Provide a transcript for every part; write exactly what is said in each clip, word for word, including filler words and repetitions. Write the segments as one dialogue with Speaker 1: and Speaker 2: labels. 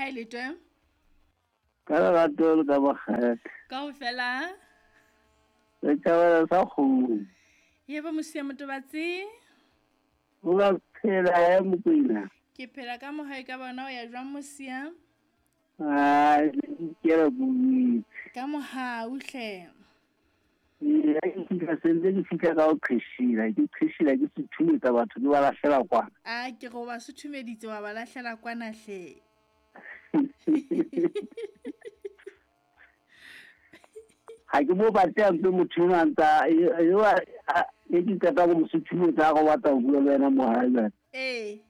Speaker 1: Ha e le twe?
Speaker 2: Ka lerato le ka makgethe.
Speaker 1: Kaofela?
Speaker 2: Le thabela sa kgomo.
Speaker 1: Yebo Mosia Motobatsi.
Speaker 2: O ka phela he Mokwena.
Speaker 1: Ke phela ka mohau ka bona o ya jwang Mosia?
Speaker 2: Ai, ke re buitse.
Speaker 1: Ka mohau hle.
Speaker 2: Ee, ha ke fihla sentse ke fihla ka ho qheshila, ke qheshila ke suthumetsa batho ke ba lahlela kwana.
Speaker 1: A ke go ba suthumeditse wa ba lahlela kwana hle.
Speaker 2: Ha ke mo batle a mpe motho enwa a ntsa eo e ke qeta go mo suthumetsa a go batla ho bua le wena mo hae jwale.
Speaker 1: Ee.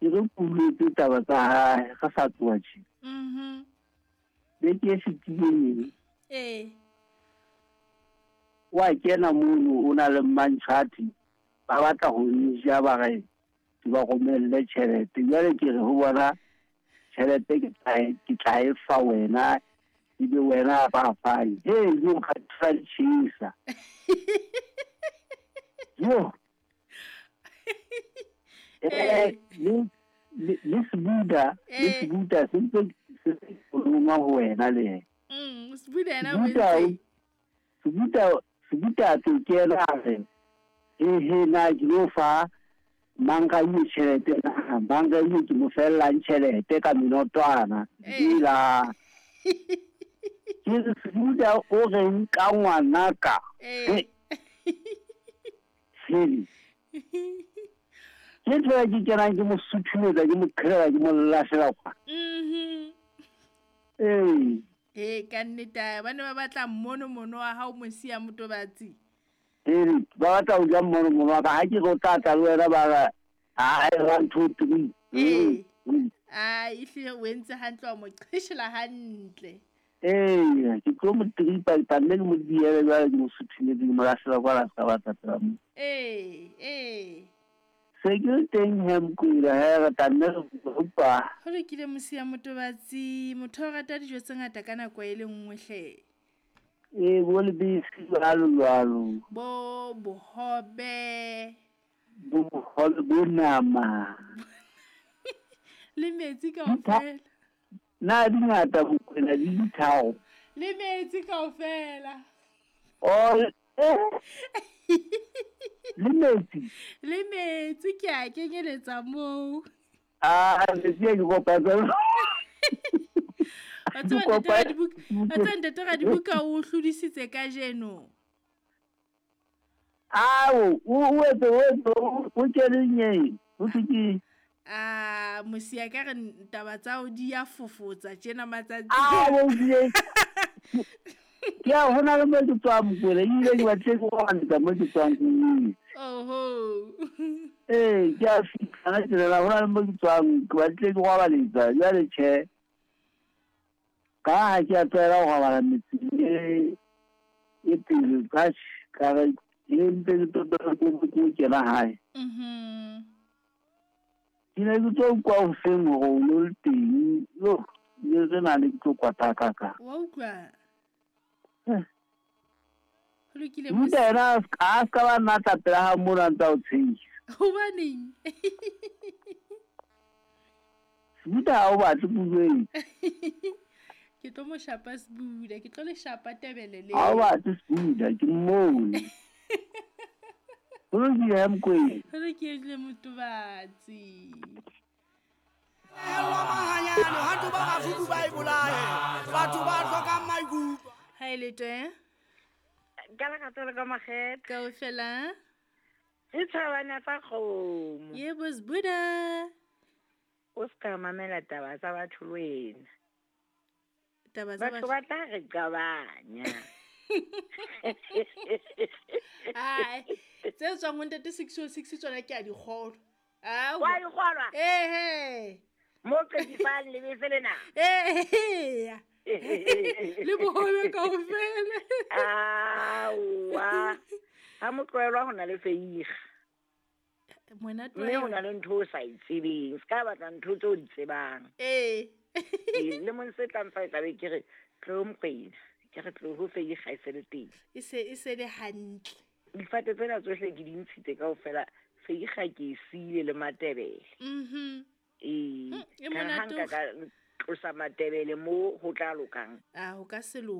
Speaker 2: Ke re kuletse taba tsa hae ga sa tloha tje.
Speaker 1: Mhm.
Speaker 2: Beke e fetileng.
Speaker 1: Ee.
Speaker 2: Wa kena mono o na le mantshati ba batla ho nja ba re ke ba romelle tjhelete. Jwale ke re ho bona tjhelete ke tla ke tla e fa wena ebe wena ba fang. He yo ka tshisa. Yo. Eh le le Sebuda, le Sebuda se ntse se roma ho wena le.
Speaker 1: Mm, Sebuda yena o entse.
Speaker 2: Sebuda Sebuda tlo kena re. He he na ke lo fa manga e tjhelete na manga e ke mo fellang tjhelete ka minotwana. Ila. Ke Sebuda o reng ka ngwana ka.
Speaker 1: Eh.
Speaker 2: Ke ntho ya ke kenang ke mo suthumetsa ke mo qhelela ke mo lahlela kwa.
Speaker 1: Mhm.
Speaker 2: Ee.
Speaker 1: Eh ka nnete ba ne ba batla mmono mono wa hao Mosia Motobatsi.
Speaker 2: Ee, ba batla ho ja mmono mono wa ka ha ke go tla tla le wena ba re ha one two three.
Speaker 1: Ee. Ah, ehlile o entse hantle wa mo qheshela hantle.
Speaker 2: Ee, ke tlo mo tripa ke nne ke mo diele jwale ke mo suthumetse ke mo lahlela kwa la ska batla tsela mo.
Speaker 1: Ee, ee.
Speaker 2: Se ke teng he Mokwena he re tla nne re utlwa.
Speaker 1: Ho lokile Mosia Motobatsi, motho o rata dijo tse ngata ka nako e le nngwe hle.
Speaker 2: Ee, bo lebese jwalo jwalo.
Speaker 1: Bo bohobe.
Speaker 2: Bo bohobe bo nama.
Speaker 1: Le metsi kaofela.
Speaker 2: Na di ngata Mokwena di ditharo.
Speaker 1: Le metsi kaofela.
Speaker 2: Oh, eh. Le metsi.
Speaker 1: Le metsi ke a kenyeletsa moo.
Speaker 2: Ah, metsi a ke kopa tsona.
Speaker 1: Wa tseba ntate Radibuka, wa tseba ntate Radibuka o hlodisitse kajeno.
Speaker 2: Ao, o etse o etse o kene nyeng. O ke
Speaker 1: Ah, Mosia ka re taba tsa o di ya fofotsa tjena matsatsi.
Speaker 2: Ah, o di. Ke a hona le mo ke tswang Mokwena, ebile ke batle ke go mo ke tswang ke.
Speaker 1: Oho.
Speaker 2: Ee, ke a fihla tsela hona le mo ke tswang ke batle ke go baletsa jwale tjhe. Ka ha ke a tlwaela go bala metsi e e pele ka ka re ke ntse ke tota ke ke kena hae.
Speaker 1: Mhm.
Speaker 2: Ke ne ke tlo utlwa hoseng hore o lo le teng. Yo, le re na le ke tlo kwata ka ka.
Speaker 1: Wa utlwa?
Speaker 2: Eh.
Speaker 1: Ho lokile
Speaker 2: Mosia. Yena a ska ba nna tla pela ha mona ntsa o tshehisa.
Speaker 1: Hobaneng?
Speaker 2: Sebuda ha o batle puo.
Speaker 1: Ke tlo mo shapa Sebuda, ke tlo le shapa tebele le.
Speaker 2: Ha o batle Sebuda, ke mmone. Ho lokile Mokwena.
Speaker 1: Ho lokile Motobatsi. Ha e le twe?
Speaker 3: Ka lerato le ka makgethe.
Speaker 1: Kaofela?
Speaker 3: E tshwana tsa kgomo.
Speaker 1: Yebo Sebuda.
Speaker 3: O ska mamela taba tsa batho le wena.
Speaker 1: Taba tsa
Speaker 3: batho ba tla re qabanya.
Speaker 1: Ai, tse tswang ho ntate six oh six tsona ke a di kgolwa. Ah,
Speaker 3: wa di kgolwa?
Speaker 1: Eh eh.
Speaker 3: Mo qedifang lebese lena.
Speaker 1: Eh. Le bohobe kaofela.
Speaker 3: Aowa. Ha motloelwa ho na le feiga.
Speaker 1: Ngwana
Speaker 3: Mme ho na le ntho o sa e tsebeng, se ka batla ntho tseo o di tsebang.
Speaker 1: Ee.
Speaker 3: Le mong se tlang fa e tlabe ke re tlo Mokwena, ke re tlo ho feiga e se le teng.
Speaker 1: E se e se le hantle.
Speaker 3: Difate tsena tsohle ke di ntshitse kaofela, feiga ke e siile le matebele.
Speaker 1: Mhm.
Speaker 3: Ee,
Speaker 1: E
Speaker 3: ka ha
Speaker 1: monate
Speaker 3: nka ka tlosa Matebele mo ho tla lokang.
Speaker 1: A ho ka se loke.